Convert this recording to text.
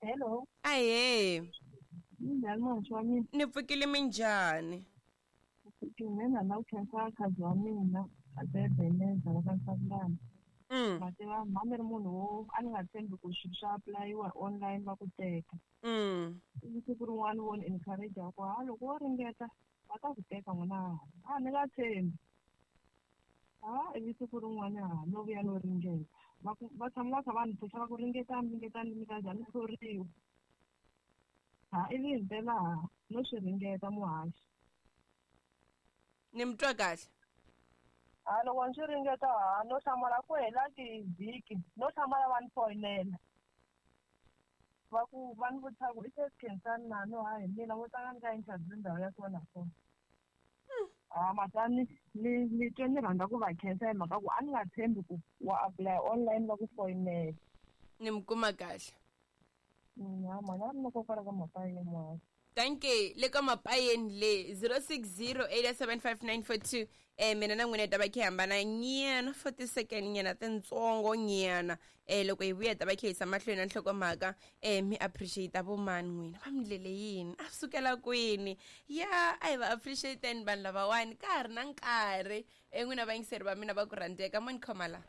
Hello. Ahee. Minjhani muhaxi wa mina? Ni pfukile minjhani? Mina na ku khensa khazi wa mina a Ebeneza va ka Nhlangano. Ma tiva mhani ni ri munhu wo a ni nga tshembi ku swilo swa apulayiwa online va ku teka. Ivi siku rin'wana vo ni encourage ku ha loko wo ringeta va ta ku teka n'wana a ni nga tshembi. Ha ivi siku rin'wana ha no vuya no ringeta. Va ku va tshama va kha va ni phusha va ku ringetani ringetani mi nga za mi hluriwa. Ha ivi himpela ha no swi ringeta muhaxi. Ni mi twa kahle? Ha loko ni swi ringeta ha no hlamala ku hela tivhiki no hlamala va ni foyinela. Va ku va ni vutisa ku i se Khensani na no ha hi mina vo tlanga ni ka interview ndhawu ya so na so. Ha mhaka ni ni ni twe ni rhandza ku va khensa hi mhaka ku a ni nga tshembi ku wa apply online va ku foyinela. Ni mi kuma kahle. Ha mhana ni loko kwala ka mapayeni muhaxi. Danke le ka mapayeni le 0608755942 mina na n'wina hi ta va khe hambana nyana 40 second nyana tintsongo nyana loko hi vuya hi ta va khe yisa mahlweni na nhlokomhaka mi appreciate vo mani n'wina va mi ndlele yini a sukela kwini ya a hi va appreciateni vanhu lavawani ka ha ri na nkarhi n'wina vayingiseri va mina va ku rhandzeka mo ni khoma la.